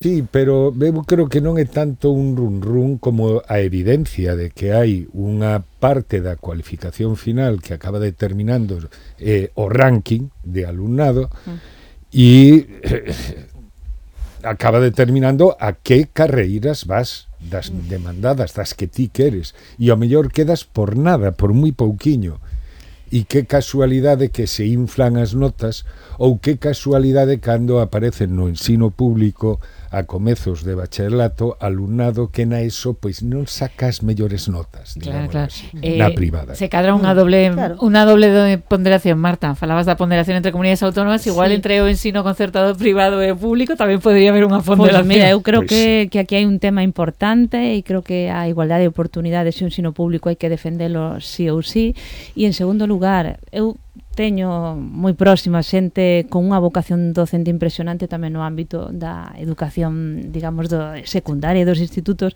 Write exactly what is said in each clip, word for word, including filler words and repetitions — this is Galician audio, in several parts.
Sí, pero eu creo que non é tanto un run run como a evidencia de que hai unha parte da cualificación final que acaba determinando eh, o ranking de alumnado e eh, acaba determinando a que carreiras vas das demandadas, das que ti queres, e ao mellor quedas por nada, por moi pouquiño. E que casualidade que se inflan as notas, ou que casualidade cando aparecen no ensino público a comezos de bacharelato alumnado que na ESO pois non saca as mellores notas, claro, digamos claro. así, Eh, na privada. Se cadra unha doble claro. unha doble ponderación, Marta. Falabas da ponderación entre comunidades autónomas, igual sí. entre o ensino concertado privado e público tamén podría haber unha ponderación. Pues mira, eu creo Pois que, que aquí hai un tema importante e creo que a igualdade de oportunidades e o ensino público hai que defendelo sí ou sí. E en segundo lugar, eu teño moi próxima xente con unha vocación docente impresionante tamén no ámbito da educación, digamos, do secundaria e dos institutos.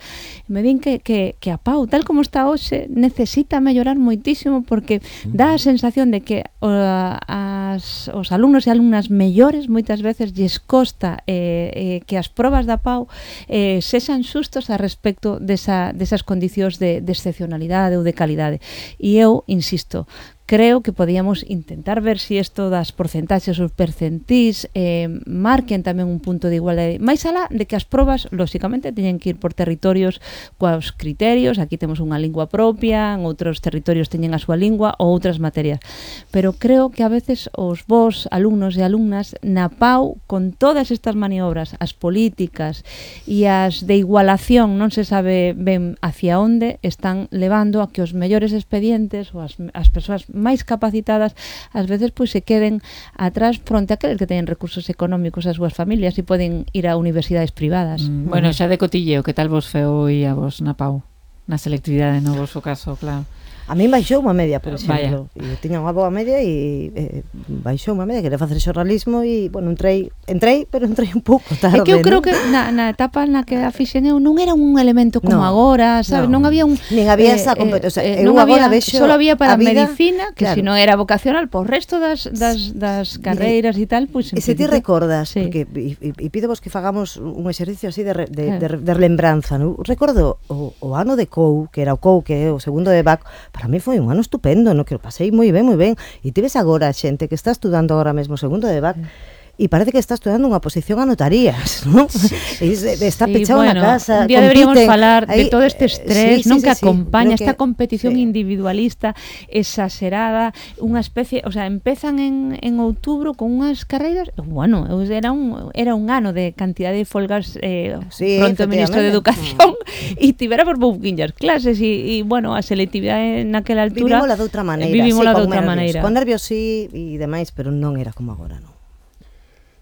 Me din que, que, que a Pau, tal como está hoxe, necesita mellorar moitísimo porque dá a sensación de que o, as, os alumnos e alumnas mellores moitas veces lles costa eh, eh, que as probas da Pau eh, sexan xustos a respecto desa, desas condicións de, de excepcionalidade ou de calidade. E eu, insisto, creo que podíamos intentar ver se si isto das porcentaxes ou percentís eh, marquen tamén un punto de igualdade. Mais alá de que as probas, lóxicamente, teñen que ir por territorios coas criterios. Aquí temos unha lingua propia, en outros territorios teñen a súa lingua ou outras materias. Pero creo que a veces os vos, alumnos e alumnas, na Pau, con todas estas maniobras, as políticas e as de igualación, non se sabe ben hacia onde, están levando a que os mellores expedientes ou as, as persoas máis capacitadas ás veces pois se queden atrás fronte a aqueles que teñen recursos económicos as súas familias e poden ir a universidades privadas. Mm, bueno, xa de cotilleo, que tal vos feo e a vos na Pau? Na selectividade, no vosso caso, claro. A mí baixou unha media, por exemplo. Vaya. E tiña unha boa media e eh, baixou unha media, quería facer xornalismo e, bueno, entrei, entrei, pero entrei un pouco tarde. É que eu creo ¿no? que na, na etapa na que a fixen eu non era un elemento como no, agora, sabes? No. Non había un... Nin había eh, esa competencia. Eh, eh, non había, vexo solo había para a vida, medicina, que claro. se non era vocacional, por resto das, das, das carreiras e tal, pois... E se ti recordas, sí. porque e, e, e pido vos que fagamos un exercicio así de, re, de, claro. de, de lembranza, ¿no? Recordo o, o ano de C O U, que era o C O U, que é o segundo de B A C, para mí foi un ano estupendo, no? Que o pasei moi ben, moi ben, e ti ves agora xente que está estudando agora mesmo segundo de B A C, e parece que está estudando unha posición a notarías, ¿no? Sí, sí. E, está sí, pechado bueno, na casa. Un día deberíamos falar aí, de todo este estrés, sí, non sí, que sí, acompaña sí, esta que, competición sí. individualista exagerada, unha especie, o sea, empezan en, en outubro con unhas carreiras, bueno, era un era un ano de cantidade de folgas eh, sí, pronto o ministro de Educación e tivera por pouquinhas clases e, e bueno, a selectividade naquela altura vivimos la de outra maneira, vivimos sí, la de con outra nervios, maneira. con nervios sí e demais, pero non era como agora, non.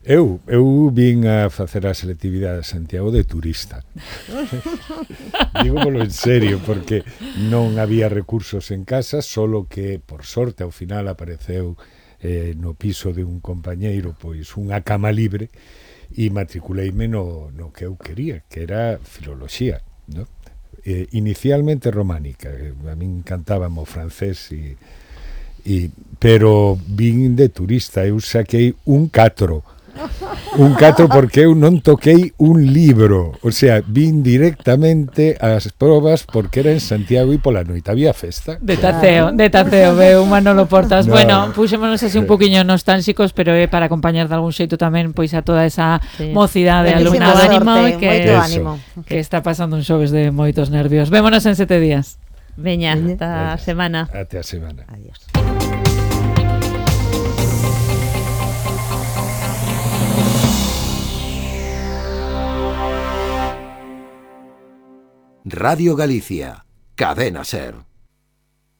Eu, eu vin a facer a selectividade a Santiago de turista. Dígomolo en serio, porque non había recursos en casa, solo que, por sorte, ao final apareceu eh, no piso de un compañeiro pois unha cama libre e matriculeime no, no que eu quería, que era filoloxía, ¿no? Eh, inicialmente románica, a mí encantábame o francés e, e pero vin de turista, eu saquei un catro. Un catro porque eu non toquei un libro, o sea, vin directamente as probas porque era en Santiago e pola noite había festa. De taceo, de taceo, veo Manolo Portas. No. Bueno, puxémonos así un poquinho nostálxicos, pero é para acompañar de algún xeito tamén pois a toda esa sí. mocidade, Buenísimo alumnado sorte, animado e que, moito Eso. ánimo. que está pasando un xoves de moitos nervios. Vémonos en sete días. Veña, Veña. ata a semana. Até a semana. Adiós. Radio Galicia, Cadena Ser.